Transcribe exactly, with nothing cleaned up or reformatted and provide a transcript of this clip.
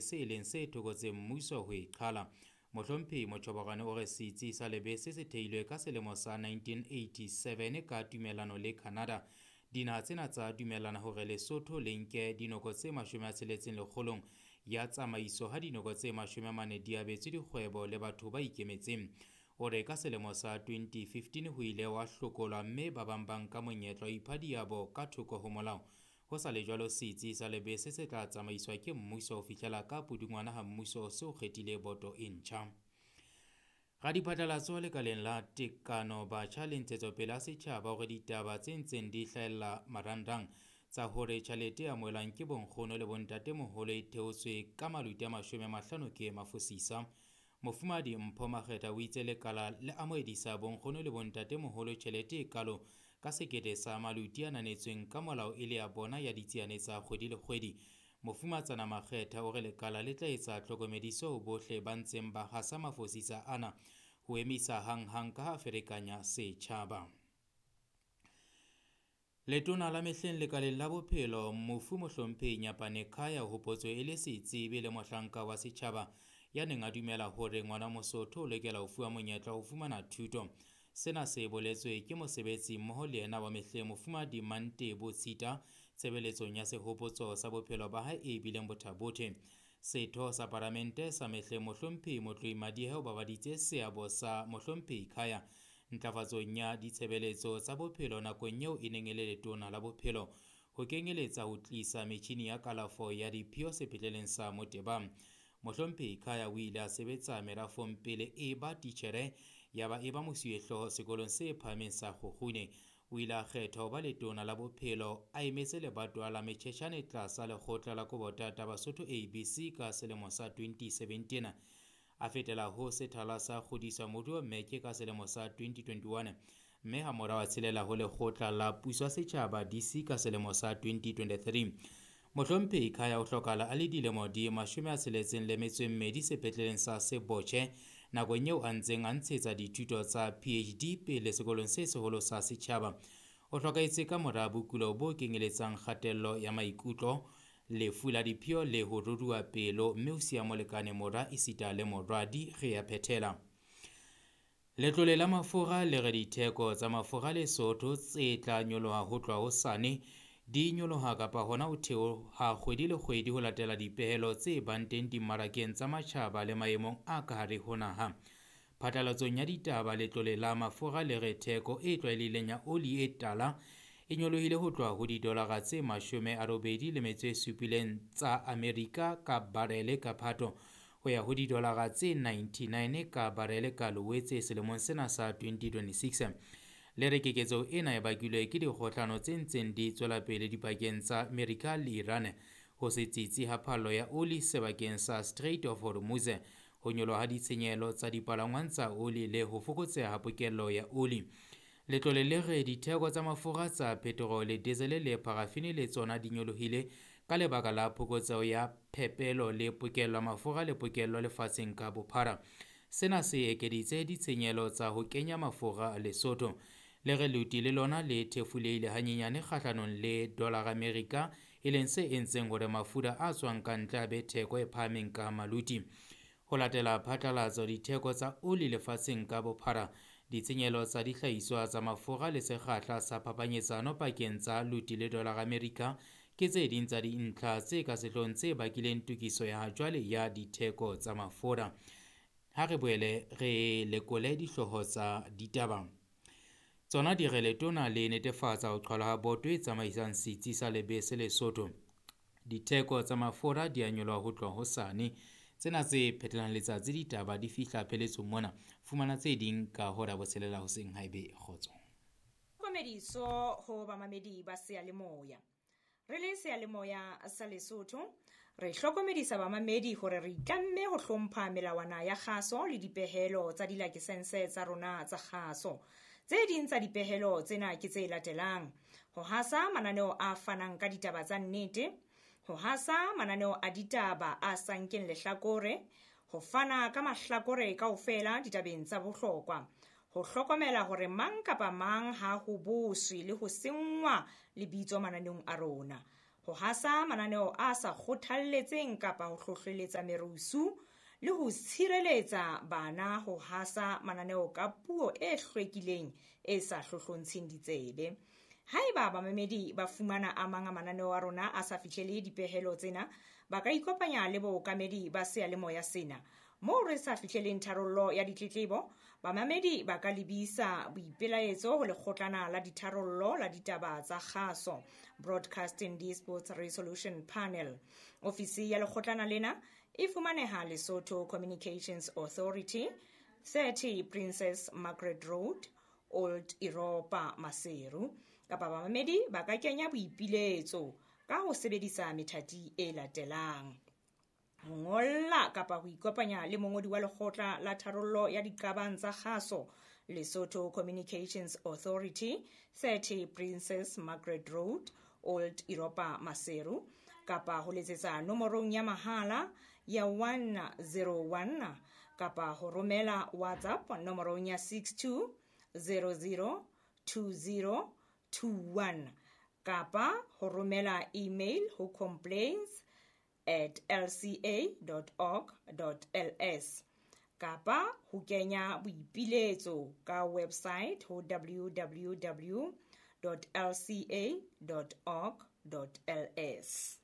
Se leng se thokotseng mmuso ho e qhala. Mohlomphehi Mochoboroane o re setsi sa lebese se theilwe ka selemo sa nineteen eighty-seven ka tumellano le Canada. Dinaha tsena tsa dumellana hore Lesotho le nke dinoko tse mashome a tsheletseng lekgolong ya tsamaiso ha dinoko tse mashome a mane di abetswe dikgwebo le batho ba ikemetseng. O re ka selemo sa twenty fifteen ho ile wa hlokolwa mme ba bang ba nka monyetla wa ipha diabo ka thoko ho molao. Ho sa le jwalo, setsi sa lebese se tla tsamaiswa ke mmuso ho fihlela ka pudungwana ha mmuso se o kgethile boto e ntjha. Radiphatlalatso lekaleng la tekano batjha le ntshetsopele ya setjhaba hore ditaba tse ntseng di hlahella marangrang tsa hore tjhelete e amohelwang ke bonkgono le bontatemoholo e theotswe ka maluti a mashome a mahlano ke mafosisa. Mofumahadi Mpho Makgetha o itse lekala le amohedisa bonkgono le bontatemoholo tjhelete e kalo ka sekete sa maluti a ananetsweng ka molao e le ya bona ya ditsiane tsa kgwedi le kgwedi. Mofumatsana Makgetha o re lekala le tla etsa tlhokomediso ho bohle ba ntseng ba hasa mafosisa ana ho emisa hanghang ka ha ferekanya setjhaba. Letona la mehleng lekaleng la bophelo mofu Mohlomphehi Nyapane Khaya o hopotswe e le setsebi le mohlanka wa setjhaba ya neng a dumela hore ngwana Mosotho o lokela ho fuwa monyetla wa ho fumana thuto. Sena se boletswe ke mosebetsi mmoho le yena wa mehleng Mofumahadi Mantebo Tshita tshebeletsong ya sehopotso sa bophelo ba hae e bileng bothabothe. Setho sa palamente sa mehleng Mohlomphehi Motloi Madiehe o babaditse seabo sa Mohlomphehi Khaya ntlafatsong ya ditshebeletso tsa bophelo nakong eo e neng e le letona la bophelo, ho kenyeletsa ho tlisa metjhini ya kalafo ya diphio sepetleleng sa Motebang. Mohlomphehi Khaya o ile a sebetsa merafong pele e ba titjhere ya ba e ba mosuwehlooho sekolong se phahameng sa Kgokgune. O ile a kgethwa ho ba letona la bophelo a emetse lebatowa la Mechechane tlasa lekgotla la Kobotata Basotho A B C ka selemo sa twenty seventeen. A fetela ho sethala sa kgodiso moruo Mmeke ka selemo sa twenty twenty-one, mme hamorao a tshelela ho lekgotla la puso ya setjhaba D C ka selemo sa twenty twenty-three. Mohlomphehi Khaya o hlokahala a le dilemo di mashome a tsheletseng le metso e mmedi sepetleleng sa Sebotjhe nakong eo a ntseng a ntshetsa dithuto tsa P H D pele sekolong se seholo sa setjhaba. O hlokahetse ka mora bokulo bo kenyeletsang kgatello ya maikutlo, lefu la diphio le ho ruruha pelo, mme o siya molekane, mora esita le moradi. Re a phethela. Letlole la mafura le re ditheko tsa mafura Lesotho tse tla nyoloha ho tloha hosane di nyoloha kapa hona ho theoha kgwedi le kgwedi ho latela dipehelo tse bang teng dimmarakeng tsa matjhaba le maemong a ka hare ho naha. Phatlalatsong ya ditaba, letlole la mafura le re theko e tlwaelehileng ya oli e tala e nyolohile ho tloha ho didolara tse mashome a robedi le metso e supileng tsa Amerika ka barele ka Phato ho ya ho didolara tse ninety-nine ka barele ka Loetse selemong sena sa twenty twenty-six. Le re keketseho ena e bakilwe ke dikgohlano tse ntseng di tswela pele dipakeng tsa Amerika le Iran, ho se tsitsi ha phallo ya oli sebakeng sa Strait of Hormuz, ho nyoloha ha ditshenyehelo tsa dipalangwang tsa oli le ho fokotseha ha pokello ya oli. Letlole le re ditheko tsa mafura tsa petrole, diesel le parafini le tsona di nyolohile ka lebaka la phokotseho ya phepelo le pokello ya mafura le pokello lefatsheng ka bophara. Sena se ekeditse ditshenyehelo tsa ho kenya mafura Lesotho. Le re leoti le lona le thefulehile hanyenyane kgahlanong le dollar America, e leng se entseng hore mafura a tswang ka ntle a be theko e phahameng ka maluti. Ho latela phatlalatso, ditheko tsa oli lefatsheng ka bophara, ditshenyehelo tsa dihlahiswa tsa mafura le sekgahla sa phapanyetsano pakeng tsa luti le dollar America ke tse ding tsa dintlha tse ka sehloohong tse bakileng tokiso ya jwale ya ditheko tsa mafura. Ha re boele re lekole dihlooho tsa ditaba. Tsona di re letona le netefatsa ho qhalwa ha boto e tsamaisang setsi sa lebese Lesotho. Ditheko tsa mafura di a nyoloha ho tloha hosane. Tsena tse phetelang letsatsi ditaba di fihla pheletsong mona. Fumana tse ding ka hora ya botshelela hoseng haebe kgotso. Tlhokomediso ho bamamedi ba seyalemoya. Re le seyalemoya sa Lesotho, re hlokomedisa bamamedi hore re itlamme ho hlompha melawana ya kgaso le dipehelo tsa dilakesense tsa rona tsa kgaso. Tse ding tsa dipehelo tsena ke tse latelang: ho hasa mananeo a fanang ka ditaba tsa nnete, ho hasa mananeo a ditaba a sa nkeng lehlakore, ho fana ka mahlakore kaofela ditabeng tsa bohlokwa, ho hlokomela hore mang kapa mang ha ho boswe le ho senngwa lebitso mananeong a rona, ho hasa mananeo a sa kgothalletseng kapa ho hlohleletsa merusu le ho tshireletsa bana ho hasa mananeo ka puo e hlwekileng e sa hlohlontsheng ditsebe. Haeba bamamedi ba fumana a mang a mananeo a rona a sa fihlele dipehelo tsena, ba ka ikopanya le bookamedi ba seyalemoya sena. Moo re sa fihleleng tharollo ya ditletlebo, bamamedi ba ka lebisa boipelaetso ho lekgotlana la ditharollo la ditaba tsa kgaso, Broadcasting Disputes Resolution Panel. Ofisi ya lekgotlana lena e fumaneha Lesotho Communications Authority, thirty Princess Margaret Road, Old Europa, Maseru. Kapa bamamedi ba ka kenya boipiletso ka ho sebedisa methati e latelang: ho ngolla kapa ho ikopanya le mongodi wa lekgotla la tharollo ya diqabang tsa kgaso, Lesotho Communications Authority, thirty Princess Margaret Road, Old Europa, Maseru, kapa ho letsetsa nomorong ya mahala ya one zero one kapa ho romela WhatsApp nomorong ya six two zero zero two zero two one kapa ho romela email ho complaints at l c a dot org dot l s kapa ho kenya boipiletso ka website ho w w w dot l c a dot org dot l s.